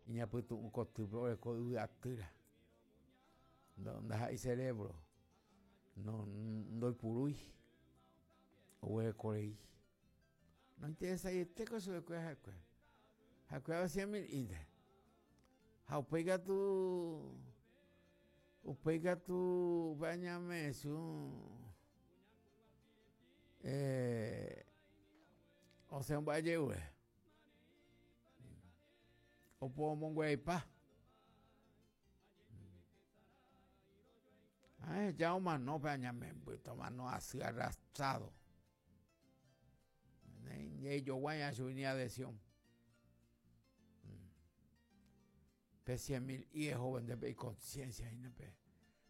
Iñapytu'ũ kotýpe oreko yvy atýra. Ndaha'éi cerebro. No, ndoipurúi. Oguereko rei. Nointeresaiete ko chupekuéra ha'ekuéra. Ha'ekuéra osẽ mirĩnte. Ha upéi katu upéi katu upe añame'ẽsu eh, osẽ omba'eje'uve. Oporomongueraipa. Ahecha omano pe añamemby, tomano asy arrastrado. Ñejoguái chugui ni adhesión. Pe cien mil y ovende pe iconciencia hína pe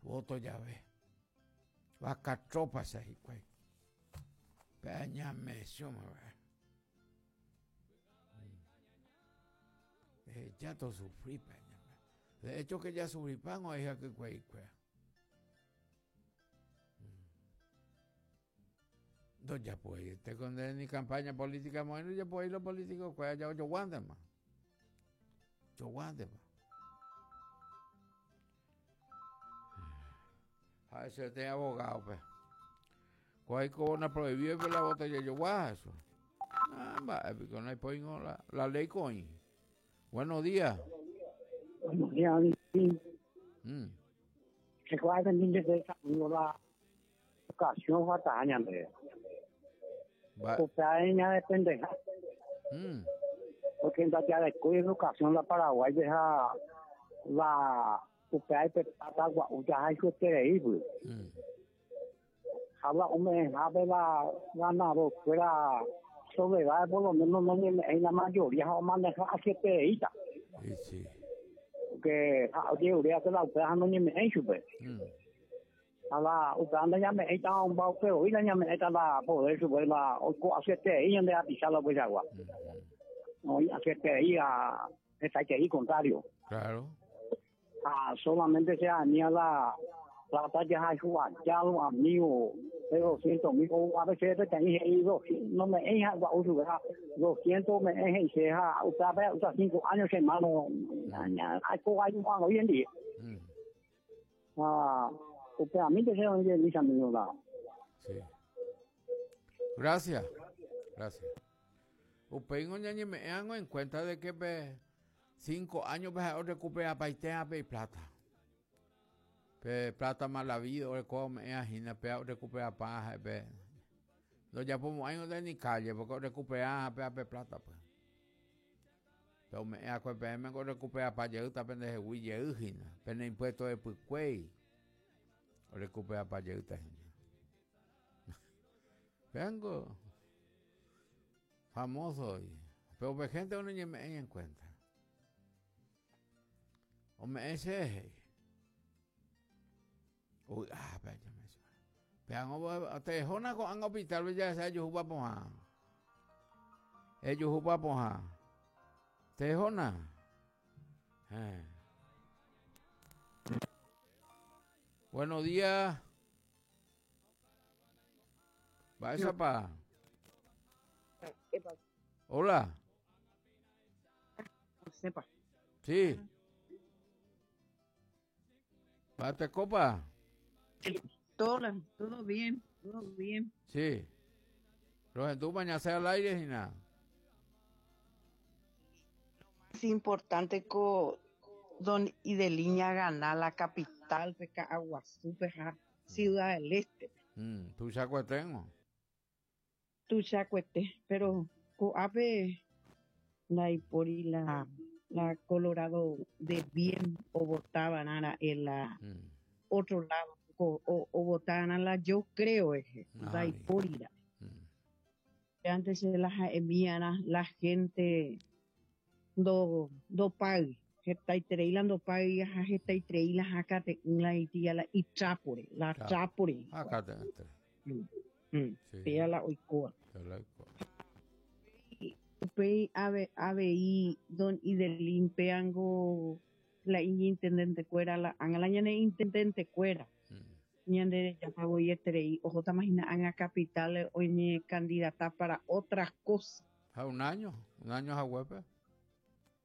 voto jave. Vaca tropa che hikuái. Pe añamesũma va'e. Ehecha tosufri pe añame. De hecho que ya sufripan oĩ hakykueikuéra. Ndojapói ko ni campaña política moĩ ndojapói los políticos kuéra ja ojoguántema. Ojoguántema. Ha ese te abogado pe. Ko ko una prohibido pe la botella jogua eso. Ah, mba'e piko no hay la, la ley coin. Buenos días. Buenos días. Recuerda la educación falta ñande. Upéva ñadependeha. Porque ndajarekói educación la Paraguay deja la upéva pe plata gua'u jahayhueterei pues. Ha la ome'ẽhápe la ganador kuéra soledad por lo menos no ñeme'ẽi la mayoría ha omaneja asyetereíta. Sí, sí. Porque ha ojeruréva la upéva ha noñeme'ẽi chupe. Ha la upéva ndañame'ẽita omba upe voi ndañame'ẽta la poder chupe la oiko asyeterei ñande rapicha la upeichagua. Oĩ asyeterei ha hetaiterei contrario. Claro. Ha solamente se anía la plata jahayhu aja los amigos de 200 mil o a veces peteĩ he'i no me'ẽi ha gua'u chupe ha 200 me'ẽ he'ise ha upévape usa 5 años che hermano aiko aimo'ã voi hendive. Ha upévamínte che oĩ jey mis amigos la. Sí. Gracias. Gracias. Upéingo ñañeme'ẽango en cuenta de que pe 5 años pe ha'e orecuperapaite pe iplata. Pe plata mal habido orekóva ome'ẽva hína pe orecuperapa ha'e pe ndojapomo'ãingo nde ni calle porque orecupera pe pe plata pues. Pe ome'ẽ akue peẽme ko orecuperapa jeýta pendehegui jey hína pene impuesto hepykuéi orecuperapa jeýta hína. Péango famoso pero pe gente oñeme'ẽ en cuenta. Ome'ẽ che he'i. Uy, ah, pe añame Peango tehóna ko'ág̃a hospital-pe jahecha ejuhúpa pohã. Ejuhúpa pohã. Tehóna. Eh. Buenos días. Mba'éichapa? Hola. Sepa. Sí. Bate copa. Todo, todo bien, todo bien. Sí. Rohendu mañase al aire, Gina. Es importante ko don Ideliña gana la capital pe Ka'aguasu pe ha Ciudad del Este. Tuichakueténgo. Tuichakuete, pero ko'ápe ndaipóri la la Colorado de bien ovotavarã ra'e la otro lado ko ovotavarã la yo creo rehe, ndaipóri ra'e. Antes che la ha'emíarã la gente ndo ndopáy, hetaiterei la ndopáy ha hetaiterei la hakate'ỹ la itía la itrápore, la trápore hikuái. Péa la oikóva. Upéi avei don Idelín péango la iñintendentekuéra la ág̃a la ñane intendentekuéra ñande rejáta voi eterei ohótama hína ág̃a capital oñekandidata para otras cosas. Ha un año, un año haguépe.